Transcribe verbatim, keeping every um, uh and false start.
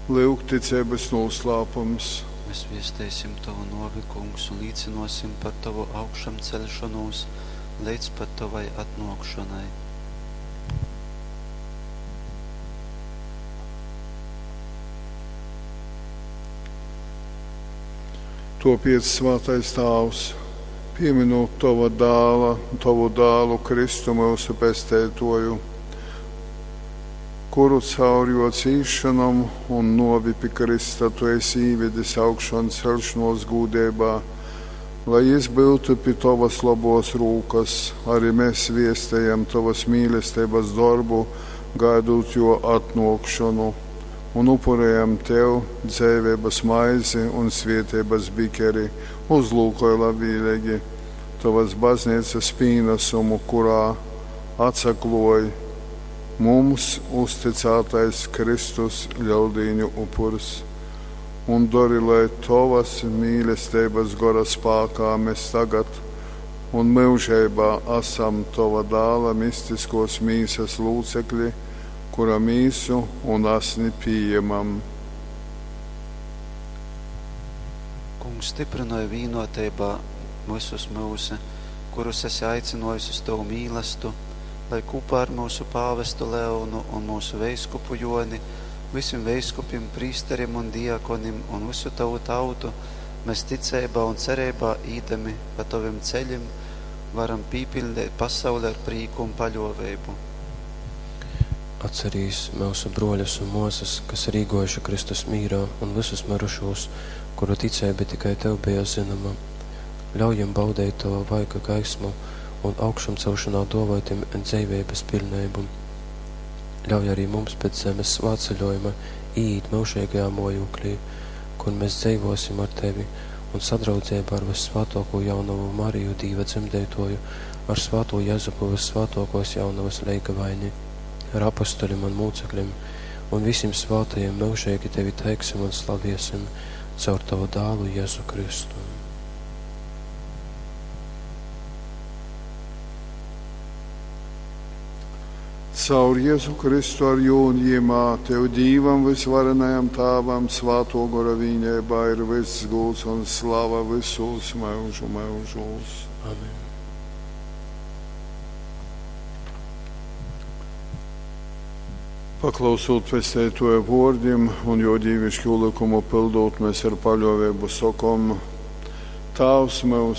Lyuk ticeibys nūslāpums. Mēs viesteisim tovu nōvi, Kungs, un līcynōsim par tovu augšamceļšonūs leidz pat tovai atnōkšonai. Tuopiec, svātais Tāvs, pieminūt tova dāla, tovu dālu Kristu myusu Pesteituoju, kuru caur juo cīsšonom un nuovi pi krysta tu esi īvedis augšonceļšonuos gūdeibā, lai jis byutu pi tovys lobuos rūkys, ari mes viestejam tovys mīlesteibys dorbu, gaidūt juo atnuokšonu, un upurejam tev dzeiveibys maizi un svieteibys bikeri. Uzlūkoj labvieleigi tovys bazneicys pīnasumu, kurā atsakluoj mums uztycātais Kristus Leldīņu upurs, un dori, lai tovys mīlesteibys gora spākā mes tagad un myužeibā asam tova dāla mistiskuos mīsys lūcekli, kura mīsu un asni pījemam. Kungs, styprynoj vīnoteibā vysus myusu, kurus esi aicynōjis uz tovu mīlastu, lai kūpā ar myusu pāvestu Leonu un myusu veiskupu Jōni, vysim veiskupim, prīsterim un diakonim un vysu tovu tautu mēs ticeibā un cereibā īdami pa tovim ceļim, varam pīpiļdeit pasauli ar prīku un paļōveibu. Atcerīs myusu bruoļus un muosys, kas ir īguojuši Kristus mīrā, un vysus myrušūs, kuru ticeiba tikai tev beja zynoma. Ļauj jim baudeit tova vaiga gaismu un augšamcelšonā duovoj tim dzeiveibys piļneibu. Ļauj arī mums pēc zemes svātceļuojuma īīt myužeigajā muojūklī, kur mēs dzeivuosim ar tevi un sadraudzeibā ar vyssvātuokū jaunovu Mariju, Dīva dzemdeituoju, ar svātū Jezupu, vyssvātuokuos jaunovys leigavaini, ar apostoļim un mūcekļim un vysim svātajim myužeigi tevi teiksim un slaviesim caur tovu dālu Jezu Kristu. Caur Jezu Kristu ar jū un jimā, tev Dīvam vysvarenajam Tāvam, Svātuo Gora vīneibā ir vyss gūds un slava vysūs myužu myužūs. Amen. Paklausūt Pesteituoja vuordim un juo dīviškū lykumu pyldūt, mes ar paļuoveibu sokom: Tāvs myusu,